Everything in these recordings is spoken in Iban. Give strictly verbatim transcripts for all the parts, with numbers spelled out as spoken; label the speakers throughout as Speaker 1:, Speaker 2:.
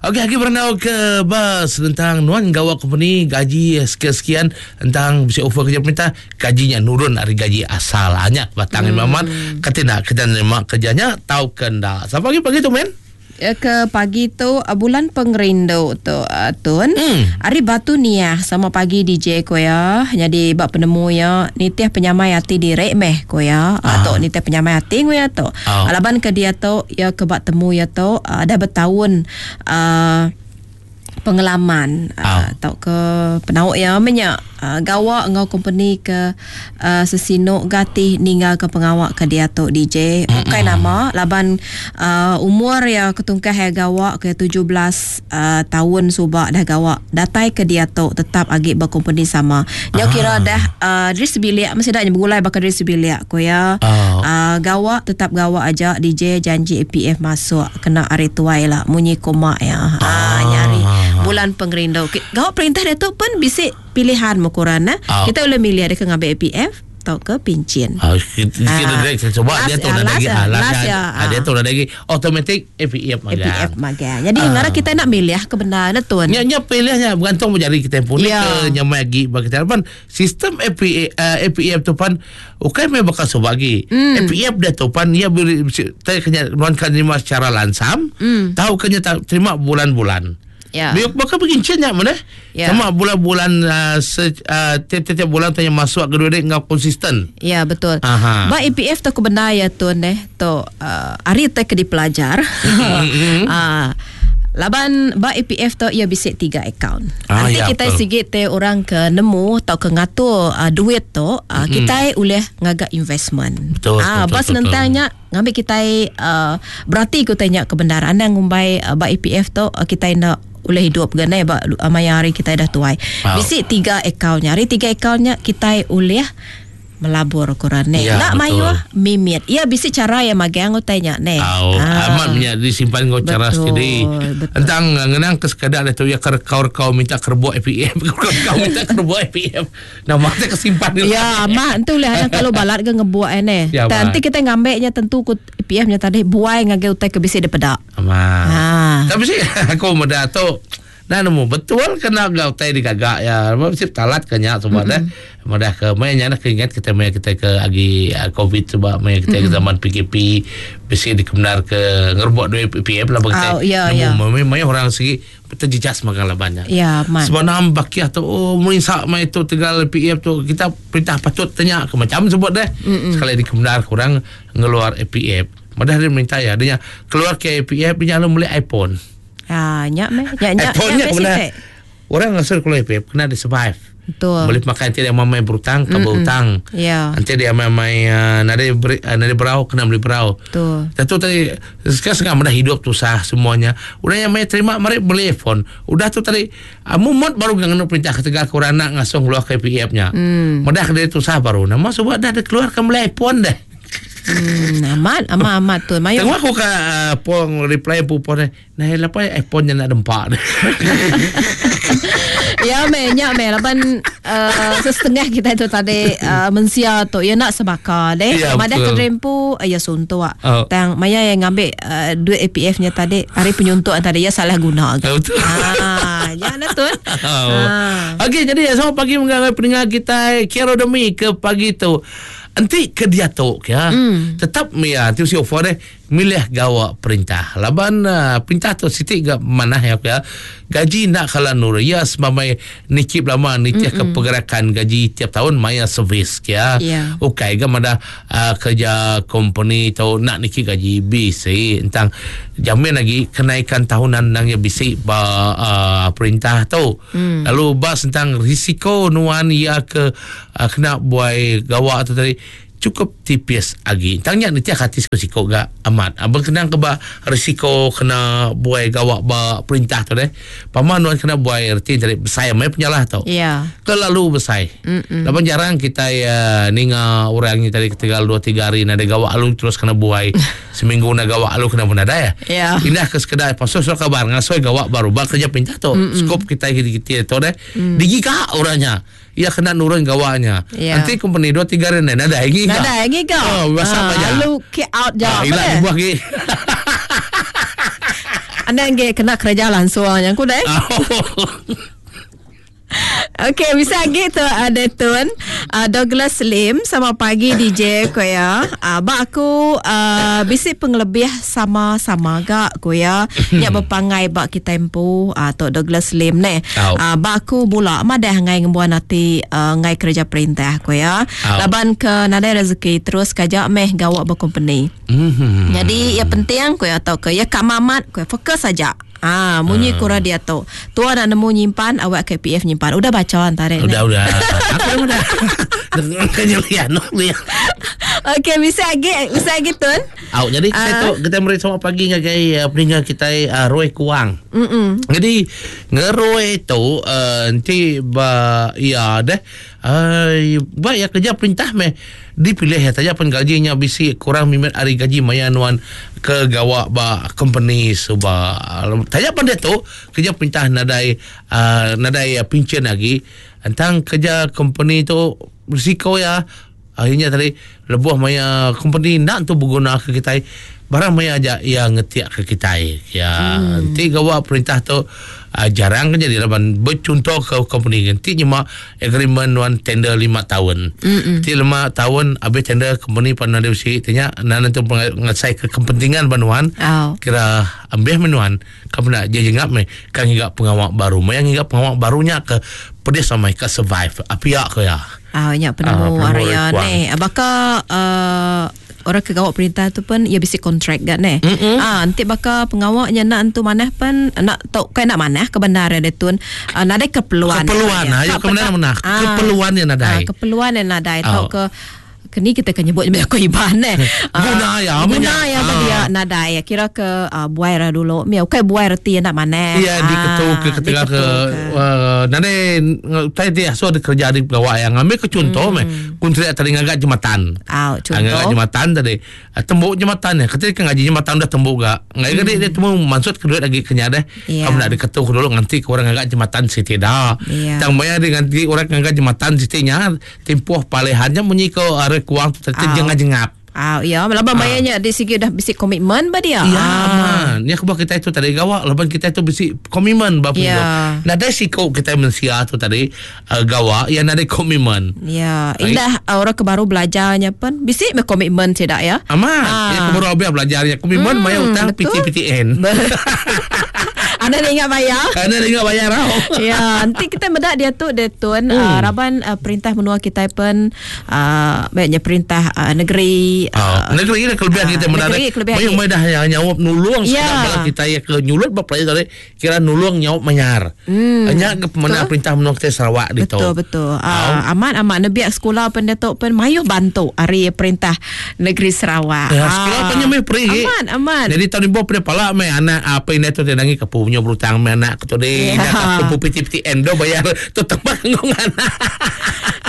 Speaker 1: Okey, lagi berandau ke bas tentang nuan gawa company gaji sekian-sekian tentang bisa offer kerja perintah gajinya nurun dari gaji asal. Hanya batang hmm. Mamat kata nak kita nerima kerjanya tau ke ndak. Sampai pagi pagi tu men.
Speaker 2: Ke pagi tu bulan pengerindu tu uh, Tun. Hmm. Hari Batu Niah sama pagi D J ko ya. Jadi bab penemu ya nitih penyamai hati direk meh ko ya. Ah. Atau nitih penyamai hati ko ya tu. Oh. Alaban ke dia tu ya ke bak temu ya tu uh, dah bertahun uh, pengalaman oh. uh, atau ke penauk ya menyak uh, gawa ngau company ke uh, sesinuk gati ninggal ke pengawak ke dia tu D J. Bukan nama laban uh, umur ya ketungkah ya gawa ke tujuh belas uh, tahun subak dah gawa datai ke dia tu tetap agi berkompany sama. Nya ah. kira dah uh, dari sebilik mesti dah bergulai bakal dari sebilik ko ya. Oh. Uh, gawa tetap gawa aja D J janji A P F masuk kena hari tuai lah munyi koma ya. Ah, ah nyari bulan pengerindu. Gawa perintah dia tu pun bisik pilihan mukuran nah. Oh. Kita boleh milih ada ke ngambil A P F atau ke pencen.
Speaker 1: Ah, kita direct sebab dia tu dah lagi ah dia tu dah lagi automatic A P F magang.
Speaker 2: A P F magang. Jadi uh. ngara kita nak milih kebenaran tuan.
Speaker 1: Nya nya pilihnya bergantung menjadi kita pun yeah. ke nyamai lagi bagi kita pan sistem A P A, uh, A P F tu pan bukan mai bakal so bagi. Mm. A P F dia tu pan ia kena nuankan terima secara langsam, mm. tahu kena terima bulan-bulan.
Speaker 2: Ya.
Speaker 1: Biar bakal pencen nya mana?
Speaker 2: Ya.
Speaker 1: Sama bulan-bulan uh, se, uh, tiap-tiap bulan tanya masuk ke duit ngau konsisten.
Speaker 2: Ya betul.
Speaker 1: Aha.
Speaker 2: Ba A P F tu kebenar ya tuan eh tu uh, hari tu ke dipelajar. Ah. Laban ba A P F tu ia bisik tiga akaun.
Speaker 1: Ah,
Speaker 2: Nanti
Speaker 1: ya,
Speaker 2: kita
Speaker 1: betul.
Speaker 2: sigit te orang ke nemu atau ke ngatur uh, duit tu uh,
Speaker 1: mm-hmm.
Speaker 2: kita boleh ngagak investment.
Speaker 1: Betul.
Speaker 2: Ah,
Speaker 1: betul,
Speaker 2: bas
Speaker 1: betul,
Speaker 2: nentangnya ngambil kita uh, berarti ku tanya kebenaran anda ngumbai uh, ba A P F tu uh, kita nak boleh hidup genai ba uh, maya hari kita dah tuai.
Speaker 1: Wow.
Speaker 2: Bisik tiga akaunnya. Hari tiga akaunnya kita boleh melabur koran ne.
Speaker 1: Ya,
Speaker 2: nak mayuh mimit. Ya bisik cara yang magang utainya ne.
Speaker 1: Oh,
Speaker 2: ah.
Speaker 1: Amat punya disimpan ngau cara sendiri. Entang ngenang ke sekadar tu ya kau-kau minta kerbuk A P F, kau minta kerbuk A P F. Nama tak kesimpan ni.
Speaker 2: Ya, amat tu lah kalau balat ke ngebuat ne.
Speaker 1: Ya,
Speaker 2: nanti kita ngambeknya tentu ku A P F nya tadi buai ngagai utai ke bisik depedak.
Speaker 1: Amat.
Speaker 2: Ha.
Speaker 1: Tapi sih aku muda tu nah nemu betul kena gau tai digagak ya. Mesti talat kenya semua dah. Mudah ke mainnya nak ingat kita main kita ke agi uh, Covid sebab main kita mm-hmm. ke zaman P K P besi dikebenar ke ngerbok duit P P M lah bagi
Speaker 2: oh, ya, ya.
Speaker 1: Nemu main orang segi terjejas makan lah banyak.
Speaker 2: Ya, man.
Speaker 1: Sebab nam bakiah tu oh merinsak main tu tegal P F tu kita perintah patut tanya ke macam sebut dah.
Speaker 2: Mm-mm.
Speaker 1: Sekali dikebenar kurang ngeluar A P F. Mudah dia minta ya dia keluar ke A P F dia lalu beli iPhone.
Speaker 2: Ah, nyak meh. Nyak nyak.
Speaker 1: iPhone-nya kena. Orang ngasal keluar A P F kena dia survive.
Speaker 2: Betul.
Speaker 1: Boleh makan nanti dia mamai berutang, ke berutang.
Speaker 2: Ya.
Speaker 1: Nanti dia mamai uh, nade beri, uh, nade berau kena beli berau.
Speaker 2: Betul.
Speaker 1: Tentu tadi sekarang setengah dah hidup susah semuanya. Udah yang mai terima mari beli iPhone. Udah tu tadi uh, mumut baru nganu perintah ketegal kurang nak ngasong keluar ke P F-nya.
Speaker 2: Mm.
Speaker 1: Mudah dia susah baru. Nama sebab dah ada keluarkan beli iPhone dah.
Speaker 2: Hmm, amat amat amat tu. Mayu.
Speaker 1: Tengok aku ke uh, pong reply pupon ni. Nah, lepas iPhone nya nak dempak.
Speaker 2: Ya me, nyak me laban uh, setengah kita itu tadi uh, mensia tu ya nak sebaka deh.
Speaker 1: Ya,
Speaker 2: Madah
Speaker 1: betul.
Speaker 2: kedrempu ya suntuk.
Speaker 1: Oh.
Speaker 2: Tang maya yang ngambil uh, duit A P F nya tadi hari penyuntuk tadi ya salah guna.
Speaker 1: Ya, betul.
Speaker 2: Ah, ya lah tu.
Speaker 1: Oh.
Speaker 2: Ah.
Speaker 1: Okey, jadi selamat pagi mengenai pendengar kita Kero Demi ke pagi tu. Nanti ke dia tu ya.
Speaker 2: Mm.
Speaker 1: Tetap ya tu si offer deh milih gawa perintah. Laban uh, perintah tu sitik ga mana ya ya. Gaji nak kala nur ya semamai nikip lama nitih ke pergerakan gaji tiap tahun maya servis ya.
Speaker 2: Ya.
Speaker 1: Okey ga mana uh, kerja company tu nak nikip gaji B C tentang jamin lagi kenaikan tahunan nang ya B C ba uh, perintah tu.
Speaker 2: Mm.
Speaker 1: Lalu bas tentang risiko nuan ya ke uh, kena buai gawa tu tadi cukup tipis lagi. Tanya nanti hati risiko gak amat. Abang kena ke ba risiko kena buai gawak ba perintah tu deh. Paman nuan kena buai erti dari besar mai penyalah tu.
Speaker 2: Ya.
Speaker 1: Terlalu besar. Lapan jarang kita ya ninga orang ni tadi ketinggal dua tiga hari nada gawak alu terus kena buai. Seminggu na gawak alu kena pun ada ya.
Speaker 2: Ya.
Speaker 1: Indah ke sekedar pasal surat kabar ngasoi gawak baru bak kerja perintah tu. Skop kita kita tu deh.
Speaker 2: Mm.
Speaker 1: Digigak orangnya. Ia kena nurun gawaknya.
Speaker 2: Ya.
Speaker 1: Nanti company dua tiga hari nada lagi.
Speaker 2: Nada lagi kau.
Speaker 1: Oh, WhatsApp
Speaker 2: Ah,
Speaker 1: aja.
Speaker 2: Lalu kick out je.
Speaker 1: Ah, hilang
Speaker 2: Apa
Speaker 1: dibuah lagi.
Speaker 2: Anda nge kena kerja langsung yang ku deh. Okey, bisa lagi tu ada tun uh, Douglas Lim sama pagi D J ko ya. Uh, ba aku uh, bisi pengelebih sama-sama gak ko ya. Nya berpangai ba kita empu uh, tu Douglas Lim ne. Uh, ba aku bula madah ngai ngembuan ati uh, ngai kerja perintah ko ya. Laban ke nadai rezeki terus kajak meh gawak berkompany. Mm-hmm. Jadi ya penting ko ya atau ke ya kak mamat ko ya, fokus saja. Ah, munyi hmm. kura dia tu. Tua nak nemu nyimpan awak K P F nyimpan. Udah baca antara ni.
Speaker 1: Udah udah. Aku udah. Kena lihat no lihat.
Speaker 2: Okey, bisa lagi, bisa lagi tun.
Speaker 1: Au, jadi kita uh. tu kita meri selamat pagi ngagai uh, peninggal kita uh, Roy Kuang. Mm-mm. Jadi ngeroi tu uh, nanti ba ya deh. Uh, ba ya kerja perintah meh dipilih ya saja pun gajinya bisi kurang mimet hari gaji maya nuan ke gawak ba company suba. Tanya pun dia tu kerja perintah nadai uh, nadai uh, pencen lagi. Entang kerja company tu risiko ya. Akhirnya tadi lebuh maya company nak tu berguna ke kita barang maya aja yang ngetiak ke kita ya. Hmm. Nanti gawak perintah tu uh, jarang kan jadi laban bercontoh ke company nanti nyemak agreement one tender lima tahun. Nanti lima tahun habis tender company pandai usi tanya nan tu ngasai ke kepentingan banuan. Oh. Kira ambil menuan kamu nak je jengap me kan hingga pengawak baru maya hingga pengawak barunya ke pedih sama ke survive apiak ke ya.
Speaker 2: Ah nya penemu uh, area ni. Baka uh, orang ke gawak perintah tu pun ia bisi kontrak gak ne. Ah nanti baka pengawaknya nak entu manah pun nak tau kai nak manah ke bandar dia tun uh, nadai keperluan.
Speaker 1: Keperluan ha ya ke mana keperluan yang nadai.
Speaker 2: Ah, keperluan yang nadai tau ke kini kita kena nyebut aku iban eh.
Speaker 1: Guna ya
Speaker 2: guna ya bagi dia nadai kira ke uh, buai ra dulu. Mi okey buai reti nak mana.
Speaker 1: Ya diketu ke ketika ke nadai tadi dia so ada kerja di pegawai yang ambil ke contoh meh kontrak tadi ngagak jembatan.
Speaker 2: Ah contoh.
Speaker 1: Ngagak jembatan tadi tembuk jembatan ya. Ketika ngaji jembatan dah tembuk gak. Ngai gede dia temu maksud ke duit lagi kenya deh. Kamu nak diketu dulu nganti ke orang ngagak jembatan siti dah. Tang maya dia nganti orang ngagak jembatan sitinya tempoh palehannya munyi ke arek kuang tu terjengap-jengap.
Speaker 2: Ah ya, laban bayarnya di segi dah bisi komitmen ba dia.
Speaker 1: Ya, aman. Ni aku kita itu tadi gawak laban kita itu bisi komitmen ba punya. Nah, ada siko kita mensia tu tadi uh, gawak yang ada komitmen.
Speaker 2: Ya, indah uh, orang ke baru belajarnya pun bisi me komitmen tidak ya.
Speaker 1: Aman. Ah. Ya ke baru habis belajarnya komitmen hmm, maya utang P T P T N.
Speaker 2: Anda ingat bayar?
Speaker 1: Anda ingat bayar tau.
Speaker 2: Ya, nanti kita medak dia tu dia tuan hmm. uh, raban uh, perintah menua kita pun uh, baiknya perintah uh, negeri
Speaker 1: uh, oh, negeri ni kelebihan uh, kita medak. Banyak medah yang nyawab nulung ya. Sekarang bala kita ya ke nyulut bab tadi kira nulung nyawab menyar. Hmm. Hanya ke mana perintah menua kita Sarawak di
Speaker 2: tu. Betul betul. Uh, oh. Amat amat nebiak sekolah pun datuk pun mayuh bantu hari perintah negeri Sarawak.
Speaker 1: Ya, sekolah pun nyamai pergi.
Speaker 2: Aman aman.
Speaker 1: Jadi tahun ni bawa pala mai anak apa ini tu dia nangi kepu punya berutang mai anak ke tu dia nak kepu P T P T N do bayar tu tanggung anak.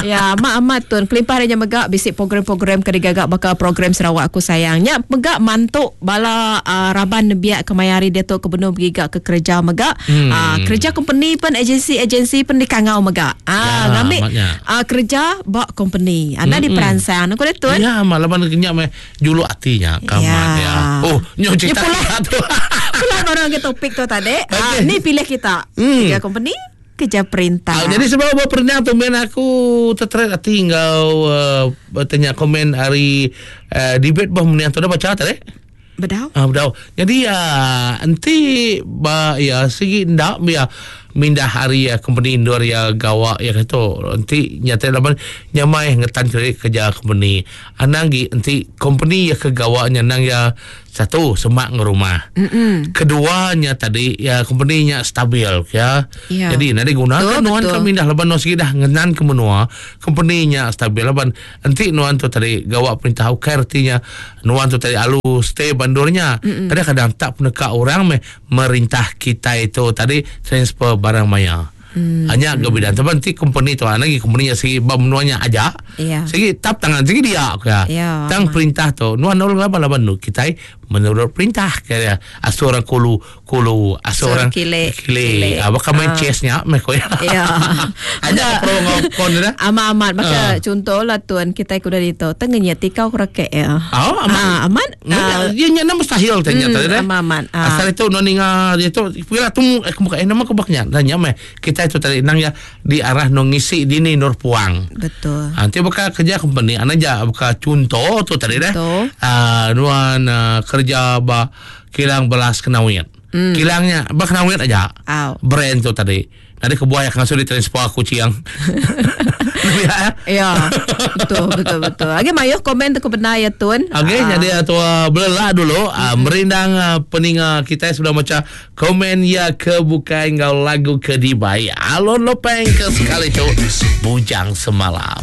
Speaker 2: Ya, amat amat tuan. Kelimpah dia megak bisik program-program ke digagak bakal program Sarawak aku sayangnya megak mantuk bala uh, raban nebiak kemayari dia tu ke benung pergi ke kerja megak. Hmm. Uh, kerja company pun agensi-agensi pun dikangau megak. Ah, ya, ngambil uh, kerja bak company. Anda hmm. diperangsang aku dia tuan.
Speaker 1: Ya, malam kenyap meh juluk hatinya kamat ya. Oh, nyo cerita tu.
Speaker 2: Pulang orang ke topik tu tadi. Okay. Uh, ni pilih kita. Hmm. Kerja company, kerja perintah.
Speaker 1: Ah, jadi sebab apa pernah tu main aku terteret hati kau uh, bertanya komen hari uh, debate bah meniang tu dah baca tadi?
Speaker 2: Bedau.
Speaker 1: Ah bedau. Jadi uh, nanti ba ya segi ndak biar mindah hari ya company indoor ya gawak ya kata nanti nyata laban nyamai ngetan kerja company. Anang gi nanti company ya ke gawaknya nang ya satu semak nge rumah.
Speaker 2: Mm-mm.
Speaker 1: Keduanya tadi ya company-nya stabil ya.
Speaker 2: Ya.
Speaker 1: Jadi nanti gunakan nuan kami dah laban no segi dah ngenan ke menua company-nya stabil laban nanti nuan tu tadi gawak perintah ukai artinya nuan tu tadi alu stay bandurnya.
Speaker 2: Mm-mm.
Speaker 1: Kadang-kadang tak peneka orang me merintah kita itu tadi transfer barang maya.
Speaker 2: Hmm.
Speaker 1: Hanya kebedan. Tapi nanti company tu lagi company segi bab menuanya aja.
Speaker 2: Yeah.
Speaker 1: Segi tap tangan segi dia ya.
Speaker 2: Yeah.
Speaker 1: Tang perintah tu nuan nol laban laban nu kita Menurut perintah kaya asuh orang kulu kulu asuh orang
Speaker 2: kile
Speaker 1: kile. Ah, bakal main chessnya meh ko ya.
Speaker 2: Ya.
Speaker 1: Ada pro ngokon dah.
Speaker 2: Amat amat maka uh. contoh lah tuan kita kuda dito tengenya tikau kerake ya.
Speaker 1: Oh, amat.
Speaker 2: Ah, amat.
Speaker 1: Uh, dia nya nama mustahil tanya tadi dah.
Speaker 2: Amat amat.
Speaker 1: Ah. Asal itu no ninga dia tu pula tu eh muka eh nama aku baknya tanya meh kita itu tadi nang ya di arah no ngisi dini nur puang.
Speaker 2: Betul.
Speaker 1: Nanti bakal kerja company ana ja bakal contoh tu tadi dah. Ah nuan uh, kerja ba kilang belas kenawit. Mm. Kilangnya ba kenawit aja.
Speaker 2: Aw.
Speaker 1: Brand tu tadi. Nanti kebuaya kan sudah transfer aku ciang.
Speaker 2: Ya. Betul betul betul. Okey mayuh komen tu kebenar ya tuan.
Speaker 1: Okey uh. jadi tu uh, belelah dulu uh, merindang uh, peninga kita sudah macam komen ya ke bukan ngau lagu ke dibai. Alon lopeng ke sekali tu Bujang Semalam.